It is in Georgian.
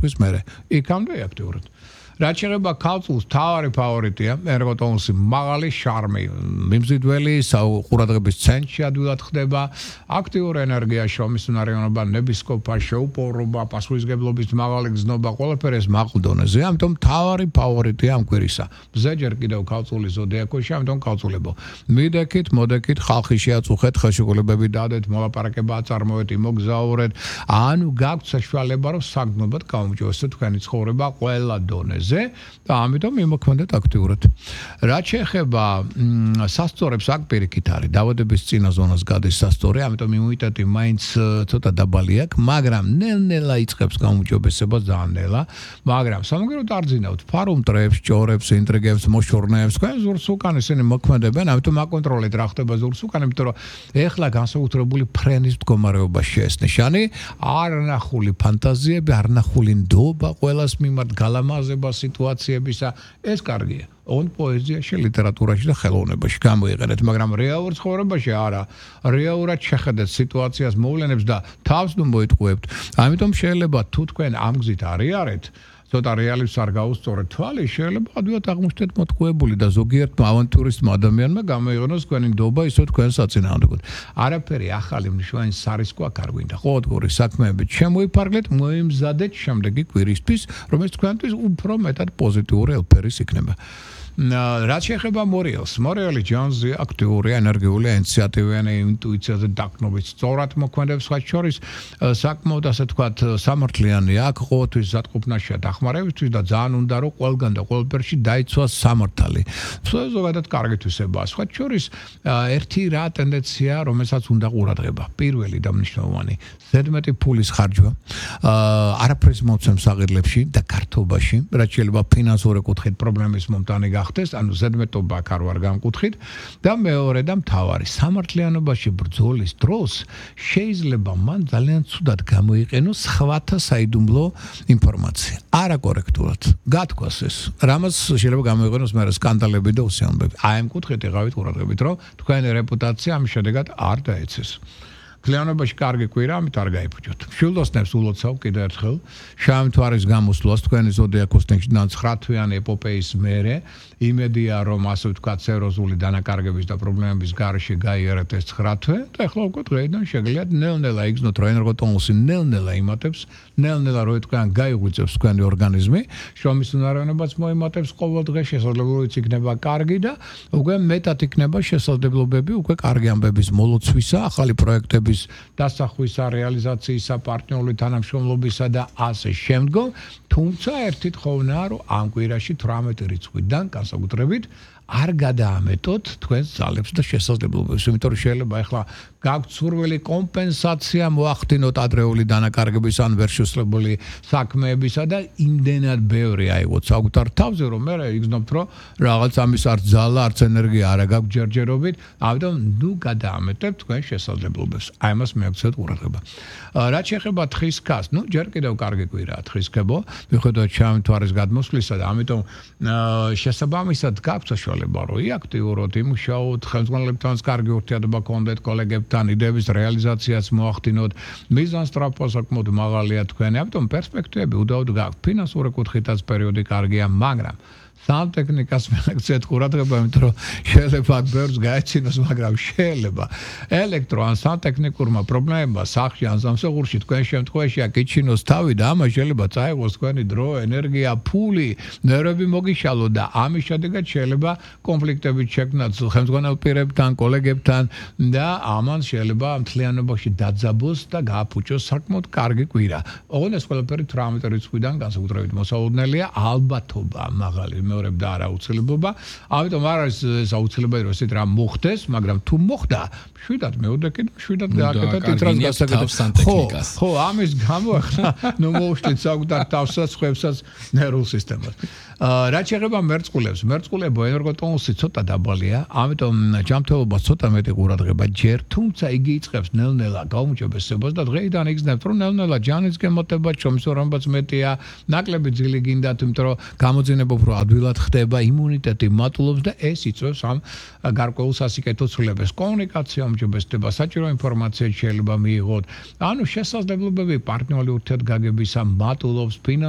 თქვის მერე. იქამდე აქტიურად. რაც შეეხება ქალწულს, თავარი ფავორიტია ერგოტონუსი, მაღალი შარმი, მიმზიდველი, ყურადღების ცენტრში ადვილად ხდება, აქტიური ენერგია, შრომის უნარიანობა, ნებისყოფა, შეუპოვრობა, პასუხისმგებლობის მაღალი გზნობა, ყველაფერი ეს მაღალ დონეზე, ამიტომ თავარი ფავორიტია ამ კვირისა. მზე ჯერ კიდევ ქალწულის ზოდიაქოში, ამიტომ ქალწულებო. მიდექით, მოდექით, ხალხი შეაწუხეთ, ხელშეკრულებები დადეთ, მოლაპარაკება აწარმოეთ, იმოგზაურეთ, ანუ გაქვთ საშუალება, რომ საგრძნობად გაუმჯობესოთ თქვენი ცხოვრება ყველა დონეზე. და ამიტომ იმოქმედეთ აქტიურად. რაც შეეხება სასწორებს აქ პირიქით არის დაავადების წინა ზონას გადის სასწორი, ამიტომ იმუნიტეტი მაინც ცოტა დაბალი აქვს, მაგრამ ნელ-ნელა იწყებს გაუმჯობესებას ძალიან ნელა, მაგრამ სამაგიეროდ არ ძინავთ ფარუმტრებს, ჭორებს, ინტრიგებს, მოშორნეებს, თქვენ ზურს უკან ისინი მოქმედებენ, ამიტომ აკონტროლეთ რა ხდება ზურს უკან, იმიტომ რომ ეხლა განსაკუთრებული ფრენის მდგომარეობაში შეესნიშანი, არნახული ფანტაზიები, არნახული ნდობა ყველას მიმართ გალამაზება სიტუაციებისა ეს კარგია. On პოეზიაში, ლიტერატურაში და ხელოვნებაში გამოიყენეთ, მაგრამ რეალურ ცხოვრებაში არა. რეალურად შეხედეთ სიტუაციას, მოვლენებს და თავს ნუ მოიტყუებთ. ამიტომ შეიძლება თუ თქვენ ამ გზით არიარეთ, ცოტა რეალებს არ გაუსწორეთ თვალი, შეიძლება ადვილად აღმოჩნდეთ მოტყუებული და ზოგიერთმა ავანტურისტმა ადამიანმა გამოიყენოს თქვენი ნდობა ისო თქვენ საწინააღმდეგოდ. არაფერი ახალი მნიშვნელოვანი სარისკო აქ არ გვინდა. ყოველდღიური საქმეებით შემოიფარგლეთ, მოიმზადეთ შემდეგი კვირისთვის, რომელიც თქვენთვის უფრო მეტად პოზიტიური ელფერის იქნება. რაც შეეხება მორიელს, მორიელი ჯონზი აქტიური, ენერგიული, ინიციატივიანი, ინტუიციაზე დაკნობით სწორად მოქმედებს, მათ შორის საკმაოდ ასე ვთქვათ, სამართლიანი აქვს, ყოველთვის ზატყუპნაშია დახმარებისთვის და ძალიან უნდა რომ ყველგან და ყველაფერში დაიცვას სამართალი. ზოგადად კარგი თვისებაა. მათ შორის ერთი რა ტენდენცია, რომელსაც უნდა ყურადღება. პირველი და მნიშვნელოვანი, ზედმეტი ფულის ხარჯვა, არაფერს მოცემს აღირლებში და გართობაში, რაც შეიძლება ფინანსური კუთხით პრობლემის მომტანი გახდეს, ანუ ზედმეტობა არ ვარ გამკუთხით და მეორე და მთავარი სამართლიანობაში ბრძოლის დროს შეიძლება მან ძალიან ცუდად გამოიყენოს სხვათა საიდუმლო ინფორმაცია. არაკორექტულად გათქვას ეს. რამაც შეიძლება გამოიყენოს მე სკანდალები და უსიამოვნებები. აი ამ კუთხით იღავით ყურადღებით, რომ თქვენი რეპუტაცია ამ შედეგად არ დაეცეს. Cleanობაში კარგი კვირა, ამით არ გაიფუჭოთ. Შილდოსნებს ულოცავ კიდევ ერთხელ. შავი მთვარის გამოსვლას თქვენი ზოდიაქოს ნეშიდან 9-თვიანი ეპოპეის მერე, იმედია რომ ასე ვთქვათ, სერიოზული დანაკარგების და პრობლემების გარეშე გაიარეთ ეს 9 თვე და ახლა უკვე დღეიდან შეგიძლიათ ნელ-ნელა იგრძნოთ, რომ ენერგოტონუსი ნელ-ნელა იმატებს, ნელ-ნელა რო თქვენ გაიღვიძებს თქვენი ორგანიზმი, შრომის უნარიანობაც მოიმატებს ყოველ დღე, შესაძლებლობიც იქნება კარგი და უკვე მეტად იქნება შესაძლებლობები უკვე კარგი ამბების მოლოცვისა, ახალი პროექტების დასახვისა, რეალიზაციისა, პარტნიორული თანამშრომლობისა და ასე შემდგომ, თუმცა ერთი თხოვნა, რომ ამ კვირაში 18 რიცხვიდან განსაკუთრებით არ გადაამეტოთ თქვენს ძალებს და შესაძლებლობებს, იმიტომ რომ შეიძლება ახლა გაქვთ სურვილი კომპენსაცია მოახდინოთ ადრეული დანაკარგების ან ვერ შესრულებული საქმეებისა და იმდენად ბევრი აიღოთ საკუთარ თავზე, რომ მე იგრძნობთ, რომ რაღაც ამის არც ძალა, არც ენერგია არ გაქვთ ჯერჯერობით, ამიტომ ნუ გადაამეტებთ თქვენ შესაძლებლობებს. აი ამას მიაქცევთ ყურადღება. რაც შეეხება თხის ქას, ნუ ჯერ კიდევ კარგი კვირაა თხისქებო, მიუხედავად შავი მთვარის გადმოსვლისა და ამიტომ შესაბამისად გაქვთ საშუალება რომ აქტიუროთ, იმუშაოთ, ხელმძღვანელებთანაც კარგი ურთიერთობა გქონდეთ, კოლეგებთან, იდეების რეალიზაციას მოახდინოთ, მიზანსტრაფვა საკმაოდ მაღალია თქვენი, ამიტომ პერსპექტივები უდაოდ გაქვთ. ფინანსური კუთხითაც პერიოდი კარგია, მაგრამ სამტექნიკას მიაქცევთ ყურადღება, იმიტომ რომ შეიძლება ბევრს გაეცინოს, მაგრამ შეიძლება ელექტრო ან სამტექნიკურმა პრობლემებმა სახლში ან სამსახურში თქვენ შემთხვევაში აკიჩინოს თავი და ამას შეიძლება წაიღოს თქვენი დრო, ენერგია, ფული, ნერვები მოგიშალოთ და ამის შედეგად შეიძლება კონფლიქტები შექმნათ ხელმძღვანელ პირებთან, კოლეგებთან და ამან შეიძლება მთლიანობაში დაძაბოს და გააფუჭოს საკმაოდ კარგი კვირა. ოღონდ ეს ყველაფერი 18 რიცხვიდან განსაკუთრებით მოსაუბრელია, ალბათობა მაღალი მეორებ და არა აუცილებლობა. ამიტომ არ არის ეს აუცილებელი რომ ესეთ რამ მოხდეს, მაგრამ თუ მოხდა, შვიდად მეოდეკით, შვიდად გააკეთეთ იტრას გასაკეთებას. ხო, ამის გამო ახლა ნუ მოუშვით საკუთარ თავსაც, ხვევსაც, ნერვულ სისტემას. რაც შეეხება მერწყულებს, მერწყულებო ენერგოტონუსი ცოტა დაბალია, ამიტომ ჯანმრთელობა ცოტა მეტი ყურადღება ჯერ, თუმცა იგი იწყებს ნელ-ნელა გაუმჯობესებას და დღეიდან იგრძნებთ, რომ ნელ-ნელა ჯანის გემოტება, შრომის ურამობაც მეტია, ნაკლები ძილი გინდათ, იმიტომ რომ გამოძინება უფრო ადვილად ხდება, იმუნიტეტი მატულობს და ეს იწვევს ამ გარკვეულ სასიკეთო ცვლილებებს. კომუნიკაცია უმჯობესდება, საჭირო ინფორმაცია შეიძლება მიიღოთ. ანუ შესაძლებლობები პარტნიორული ურთიერთგაგებისა მატულობს, ფინანსური